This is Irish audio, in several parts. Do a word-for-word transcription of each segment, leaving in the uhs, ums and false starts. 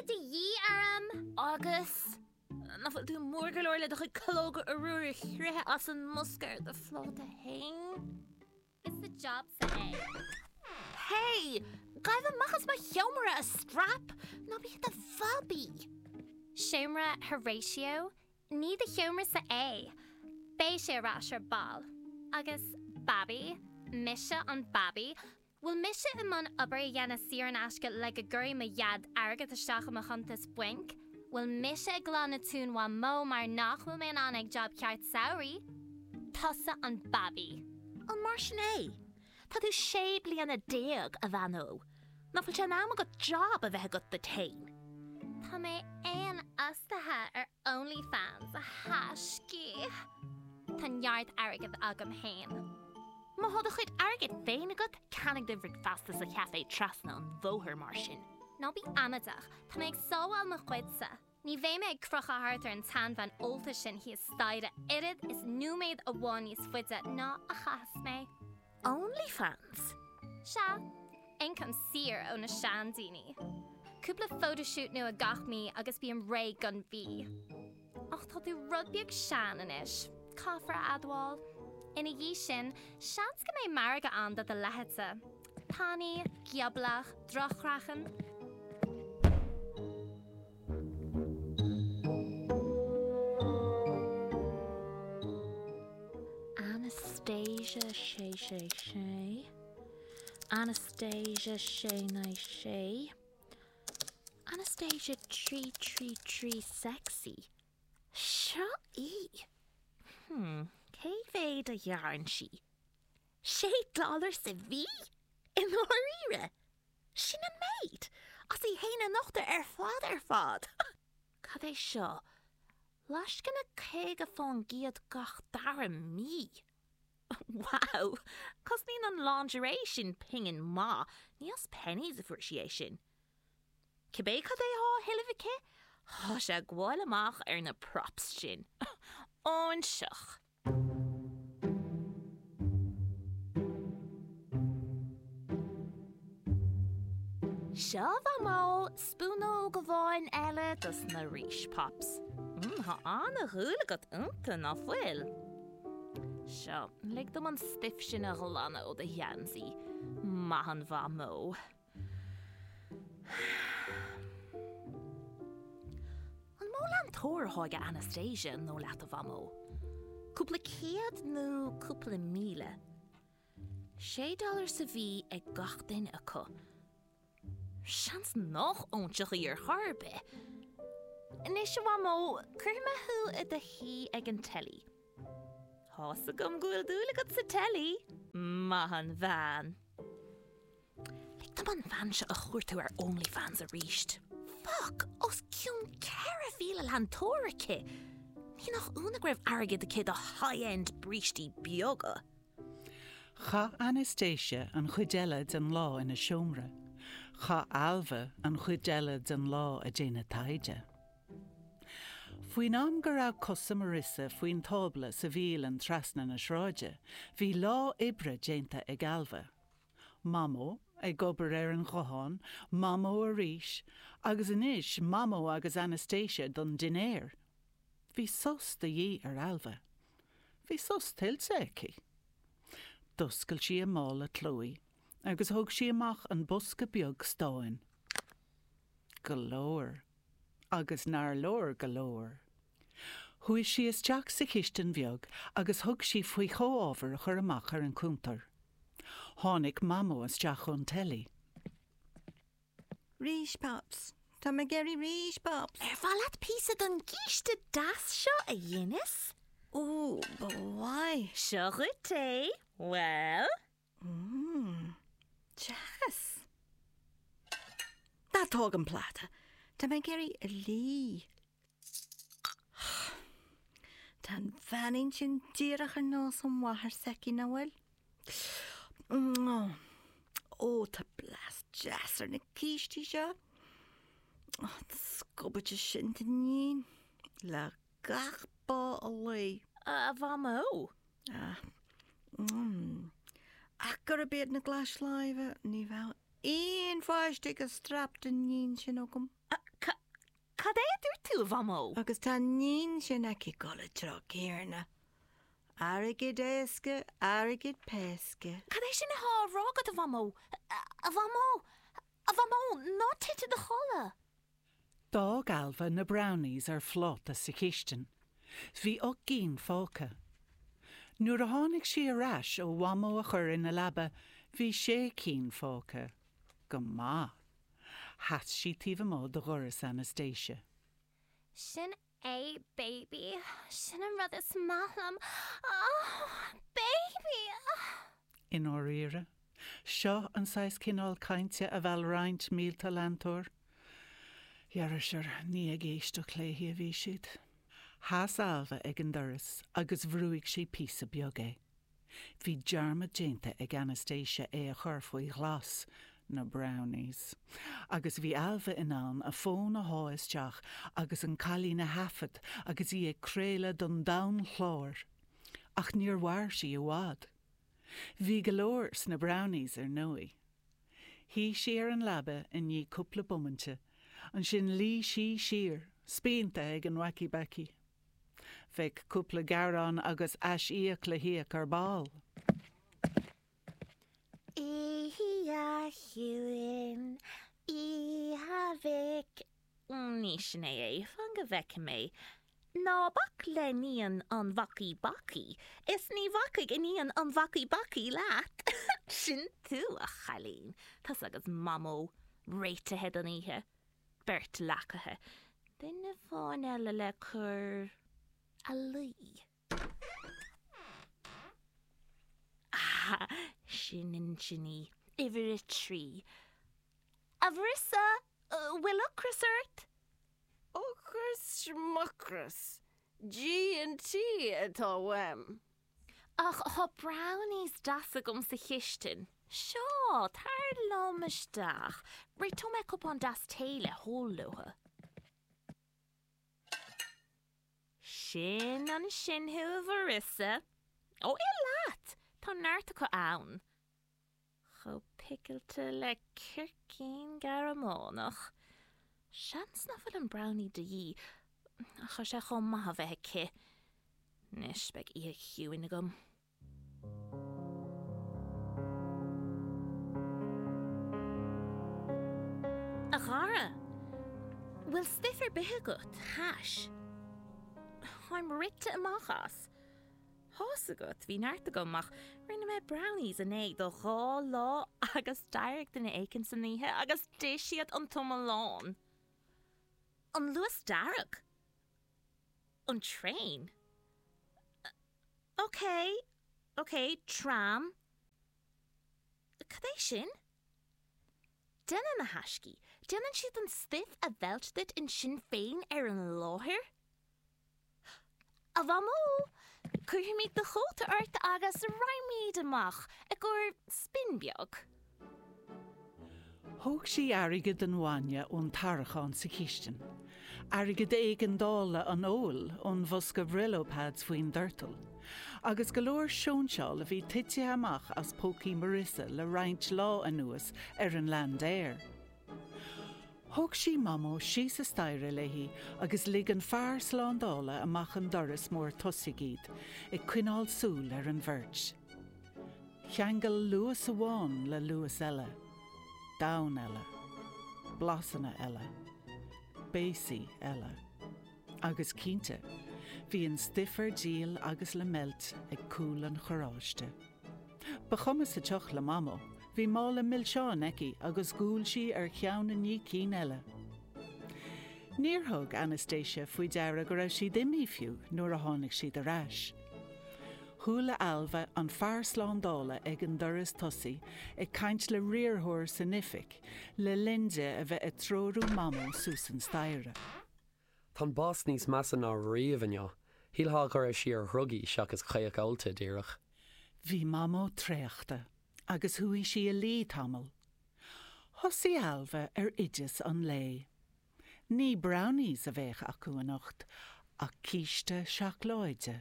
sé de dhíth orm. Agus? Nach bhfuil tú mór go leor le do chuid calóga arúir a chroitheadh as an mbosca ar do phláta féin? Is do jobsa é. Hey! Gabh amach as mo sheomra, a strap! Ná bí i do bhabaí! Seomra Horatio? Ní do sheomrasa é. Beidh sé ar ais ar ball. Agus babaí? Mise an babaí? Bhfuil mise i mbun obair a dhéanamh saor in aisce le go gcuirfidh mo dhaid airgead isteach i mo chuntas bainc? Bhfuil mise ag glanadh tóin Mhamó mar nach bhfuil mé in ann ag job ceart samhraidh? Tusa an babaí. An mar sin é? Tá tú sé bliana déag, a bhean óg. Nach bhfuil sé in am agat job a bheith agat duit féin? Tá mé fhéinfhostaithe ar OnlyFans, a thaiscí. Tá neart airgid agam féin. Má thá do chuid airgid féin agat, ceannaigh do bhricfeasta sa chaifé trasna an bhóthair mar sin. Ná bí amaideach, tá mé ag sábháil mo chuidse. Ní bheidh mé ag crochadh thart ar an tseanbhean ólta sin thíos staighre oiread is nóiméad amháin níos faide ná a chaitheas mé. OnlyFans? Sea, ioncam saor ó na seandaoine. Cúpla photoshoot nua gach mí agus bím réidh don mhí. Ach tá tú rud beag sean anois, caithfear a admháil. Ina dhiaidh sin, seans go mbeidh margadh ann do do leithéidse. Tanaí, gioblach, drochchraiceann. Anastasia sé sé sé. Anastasia sé naoi sé. Anastasia trí trí trí sexy. Seo í! Hmm, cé mhéad a ghearrann sí? Sé dollar sa mhí? I ndáiríre? Sin an méid? As í fhéin a nochtadh ar fad ar fad! Cad é seo? Lascaine caoga faoin gcéad gach dara mí? Wow! Cosnaíonn an lingerie sin pingin maith, ní as Penneys a fuair sí é sin. Cibé cad é thá á thuilleamh aici, thá sé ag gabháil amach ar na props sin. Óinseach! Seo, a Mhamó, spúnóg amháin eile dos na rís pops. Mm, thá ana-dhúil agat iontu, ná fuil? Seo, lig dom an stuif sin a ghlanadh ó do gheansaí. Maith an Mhamó. An mó leantóir athá ag Anastasia, an dóigh leat, a Mhamó? Cúpla céad nó cúpla míle? Sé dollar sa mhí ag gach duine acu. Seans nach óinseach í ar chor ar bith. Anois, a Mhamó, cuirfidh mé thú i do shuí ag an teilí. Tá's agam go bhfuil dúil agat sa teilí. Maith an bhean. Lig dom an bhean seo a chuartú ar OnlyFans arís. Fuck! Os cionn ceithre mhíle leantóir aici! Ní nach ionadh go raibh airgead aici do high-end brístí beaga. Chaith Anastasia an chuid eile den lá ina seomra. Chaith Ailbhe an chuid eile den lá ag déanamh taighde. Faoin am go raibh cosa Marissa faoin tábla sa bhialann trasna na sráide, bhí lá oibre déanta ag Ailbhe. Mamó ag obair ar an ghuthán, Mamó arís, agus anois Mamó agus Anastasia don dinnéar. Bhí sos de dhíth ar Ailbhe. Bhí sos tuillte aici. D'oscail sí a mála clóidh agus thóg sí amach an bosca beag stáin. Go leor. Agus nár leor go leor. Chuaigh sí isteach sa chistin bheag agus thug sí faoi chomhábhair a chur amach ar an cuntar. Tháinig Mamó isteach ón teilí. Rís Pops. Tá mé ag iarraidh rís Pops. Ar mhaith leat píosa den gcíste deas seo a dheineas? Ó, ba mhaith. Seo dhuit é. Bhuel? Mmm, deas. Ná tóg an pláta. Tá mé ag iarraidh a lí. Tá an bheainín sin díreach ar nós an mháthair s'aici, nach bhfuil? Ó, tá blas deas ar na cístí seo. An scubaide sin d'iníon le gach bá a luí. A Mhamó. Ah. Mm. Ach gurb iad na glais láimhe, ní bheadh aon pháiste ag an strap d'iníon sin agam. Cad é a dúirt tú, a Mhamó? Agus tá an níon sin aici ag dul an treo céanna. Airgead éasca, airgead péasca. Cad é sin atá á rá agat, a Mhamó? A Mhamó! A Mhamó, ná tit i do chodladh! D'fhág Ailbhe na brownies ar phláta sa chistin. Bhí ocht gcinn fágtha. Nuair a tháinig sí ar ais ó Mhamó a chur ina leaba, bhí sé cinn fágtha. Go maith. Sheas sí taobh amuigh de dhoras Anastasia. Sin é baby, sin an rud is maith liom. Oh, baby! I ndáiríre, seo an saghas cineál cainte a mheall roinnt mílte leantóir. Dhera sure, ní ag éisteacht léi a bhí siad. Sheas Ailbhe ag an doras agus bhrúigh sí píosa beag é. Bhí dearmad déanta ag Anastasia é a chur faoi ghlas, na brownies, agus bhí Ailbhe in ann a fón a shá isteach agus an cailín a thaifead agus í ag craoladh don domhan chlár. Ach níor mhair sí i bhfad. Bhí go leor sna brownies ar ndóigh. Shuigh sí ar an leaba i ndiaidh cúpla bomainte, ansin luigh sí siar, spíonta ag an Wacky Backy. Bheadh cúpla gearán agus aisíoc le híoc ar ball. Oíche chiúin, oíche mhic. Ní sin é é, fan go bhfeicfidh mé. Ná bac le níon an Wacky Backy, is ní bhacfaidh iníon an Wacky Backy leat. Sin tú, a chailín. Tusa agus Mamó, réitithe don oíche. Beirt leacaithe. Duine amháin eile le cur a luí. Ah, sin ansin í, uimhir a trí. A Mharissa, bhfuil ocras ort? Ocras schmucras, G and T atá uaim. Ach tá brownies deasa agam sa chistin. Seo, tar liom isteach. Réiteoidh mé cupán deas tae le hól leo. Sin ansin thú, a Mharissa. Ó, ith leat! Tá neart acu ann. Chomh picilte le circín Gearmánach. Seans nach bhfuil an brownie de dhíth, ach tá sé chomh maith a bheith aici. Anois beidh oíche chiúin agam. A chara! Bhfuil stuif ar bith agat, hash? Táim rite amach as. Tá's agat, bhí neart agam ach rinne mé brownies inné do dhá lá agus d'éirigh duine éicint san oíche agus d'ith siad an t-iomlán. An Luas Dearg? An traein? Ok, ok, tram. Cad é sin? Déanann a thaiscí, déanann siad an stuif a mheilt duit ansin féin ar an láthair? A Mhamó! Cuirfimid do chóta ort agus raghaimid amach i gcomhair spin beag. Thóg sí airgead an bhainne ón tarraiceán sa chistin, airgead éigeandála an óil ón bhosca Brillo pads faoin doirteal, agus go leor sóinseáil a bhí tite amach as pócaí Marissa le roinnt lá anuas ar an Landair. Thóg sí Mamó síos an staighre léi agus lig an fear slándála amach an doras mór tosaigh iad, ag coinneáil súil ar an bheirt. Cheangail luas amháin le luas eile. Domhan eile. Blasanna eile. Béasaí eile. Agus cinnte, bhí an stuif ar díol agus le meilt ag cúl an charráiste. Ba chuma sa tsioc le Mamó, bhí mála milseán aici agus ghoill sí ar cheann i ndiaidh cinn eile. Níor thug Anastasia faoi deara go raibh siad imithe fiú nuair a tháinig siad ar ais. Chuala Ailbhe an fear slándála ag an doras tosaigh ag caint le riarthóir san oifig le linn di a bheith ag treorú Mamó suas an staighre. Tá an bás níos measa ná riamh inniu. Shílfeá go raibh sí ar dhrugaí seachas caoch ólta díreach. Bhí Mamó traochta agus chuaigh sí a luí tamall. Thosaigh Ailbhe ar oideas an lae. Ní brownies a bheadh acu anocht ach císte seacláide.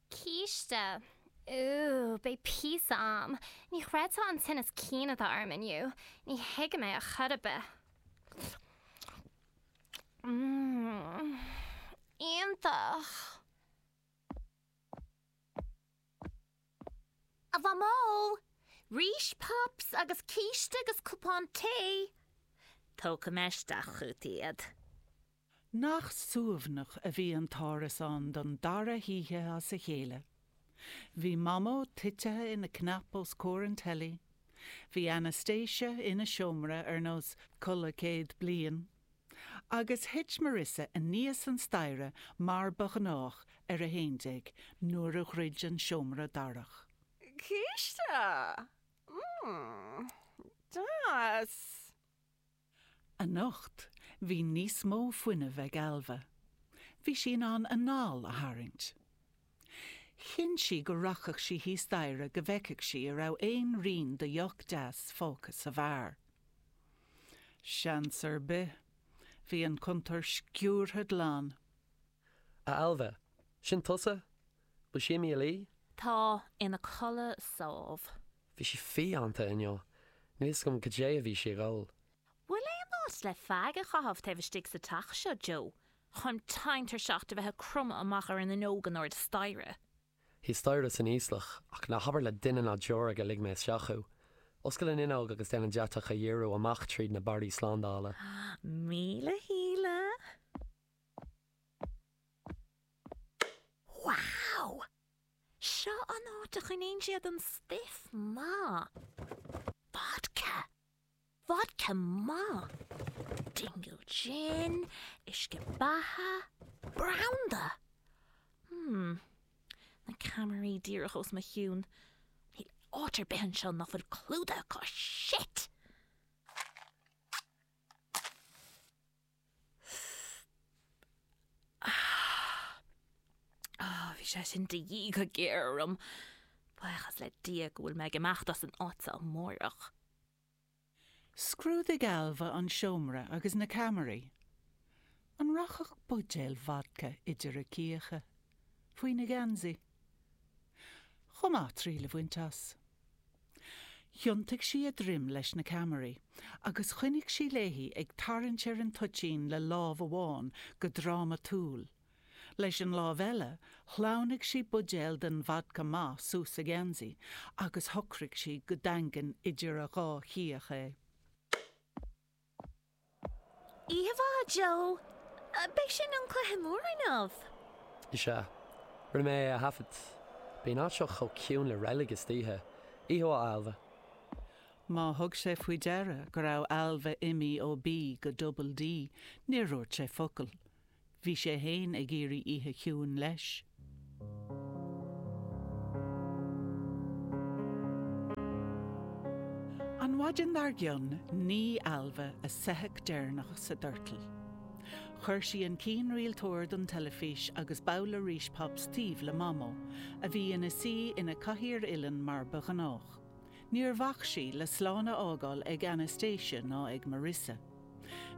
Císte? Ooh, beidh píosa a'm. Ní chreidfeá an tinneas cinn atá orm inniu. Ní thuigim é ar chor ar bith. Mmm. Iontach. A Mhamó! Rís Pops agus císte agus cupán tae! Tógfaidh mé isteach chugat iad. Nach suaimhneach a bhí an t-árasán don dara hoíche as a chéile. Bhí Mamó tite ina cnap os comhair an teilí, bhí Anastasia ina seomra ar nós codladh céad bliain, agus thit Marissa aníos an staighre mar ba ghnách ar a haon déag nuair a dhruid an seomra darach. Císte! Mmm, deas! Anocht, bhí níos mó fuinnimh ag Ailbhe. Bhí sí in ann anáil a tharraingt. Chinn sí go rachadh sí thíos staighre go bhfeicfeadh sí an raibh aon rian de dheoch deas fágtha sa bheár. Seans ar bith. Bhí an cuntar sciúrtha glan. A Ailbhe, sin tusa? Bhfuil sí imithe a luí? Tá, ina codladh sámh. Bhí sí fiánta inniu. Níl fhios agam cad é a bhí sí ag ól. Bhfuil aon áit le feag a chaitheamh taobh istigh sa teach seo, Joe? Táim tinn-tuirseach de bheith ag cromadh amach ar an fhuinneog in airde staighre. Thíos staighre san íoslach, ach ná habair le duine ná deoraí gur lig mé isteach thú. Oscail an fhuinneog agus déan an deatach a dhíriú amach tríd na barraí slándála. Míle shíle. Wow! Seo an áit a choinníonn siad an stuif maith. Vodka! Vodka maith! Dingle gin, uisce beatha, branda! Hmm. Na ceamaraí díreach os mo chionn. Níl áit ar bith anseo nach bhfuil clúdaithe acu. Shit! Ah, bhí sé sin de dhíth go géar orm. Buíochas le Dia go bhfuil mé ag imeacht as an áit seo amárach. Scrúdaigh Ailbhe an seomra agus na ceamaraí. An rachadh buidéal vodka idir a cíocha? Faoina geansaí? Chomh maith triail a bhaint as. Thiontaigh sí a droim leis na ceamaraí agus choinnigh sí léi ag tarraingt ar an toitín le lámh amháin go drámatúil. Leis an lámh eile, shleamhnaigh sí buidéal den vodka maith suas a geansaí agus shocraigh sí go daingean idir a dhá chíoch é. Oíche mhaith, a Joe. B'é sin an cluiche mór inniu. Is ea. Rinne mé é a thaifead. Bíonn an áit seo chomh ciúin le reilig istoíche. Oíche mhaith, a Ailbhe. Má thug sé faoi deara go raibh Ailbhe imithe ó B go Double D, níor dhúirt sé focal. Bhí sé féin ag iarraidh oíche chiúin leis. An mhaidin dár gcionn, nigh Ailbhe a soitheach deireanach sa doirteal. Chuir sí an cianrialtóir don teilifís agus babhla Rís Pops taobh le Mamó, a bhí ina suí ina cathaoir uilleann mar ba ghnách. Níor bhac sí le slán a fhágáil ag Anastasia ná ag Marissa.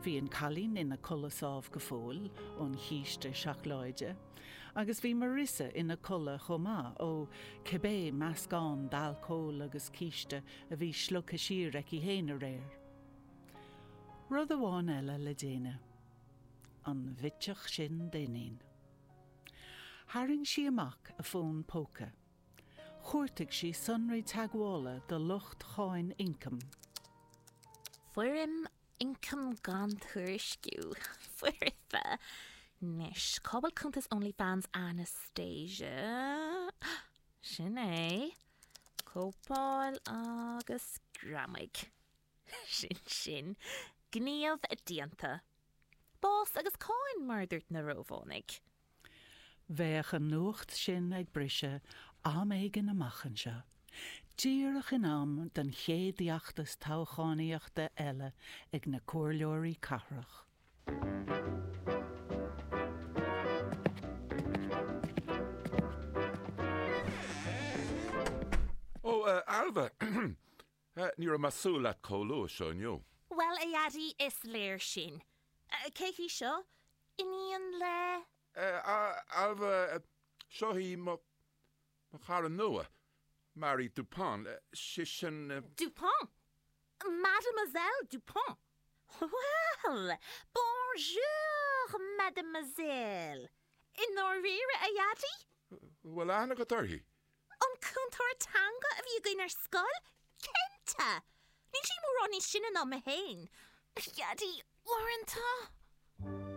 Bhí an cailín ina codladh sámh go fóill ón chíste seacláide, agus bhí Marissa ina codladh chomh maith ó cibé meascán d'alcól agus císte a bhí slogtha siar aici féin aréir. Rud amháin eile le déanamh. An bhitseach sin d'iníon. Tharraing sí amach a fón póca. Chuartaigh sí sonraí teagmhála do lucht cháin ioncaim. Foirm ioncaim gan tuairisciú. Foirfe. Anois, cá bhfuil cuntas OnlyFans Anastasia? Sin é. Cóipeáil agus greamaigh. Sin sin. Gníomh déanta. Bás agus cáin, mar a dúirt na Rómhánaigh. Bheadh an nuacht sin ag briseadh am éigin amach anseo, díreach in am don chéad fheachtas toghchánaíochta eile ag na comhairleoirí cathrach. Ó, Ailbhe, ní raibh mé ag súil leat chomh luath seo inniu. Bhuel, a Dhaidí, is léir sin. Cé hí seo? Iníon le. Ailbhe, seo í mo chara nua, Marie Dupont. Sí sin. Dupont? Mademoiselle Dupont? Well, bonjour, Mademoiselle! I ndáiríre, a Dhaidí? Bhfuil aithne agat uirthi? An cúntóir teanga a bhí againn ar scoil? Cinnte! Níl sí mórán níos sine ná mé féin. A Dhaidí, uaireanta!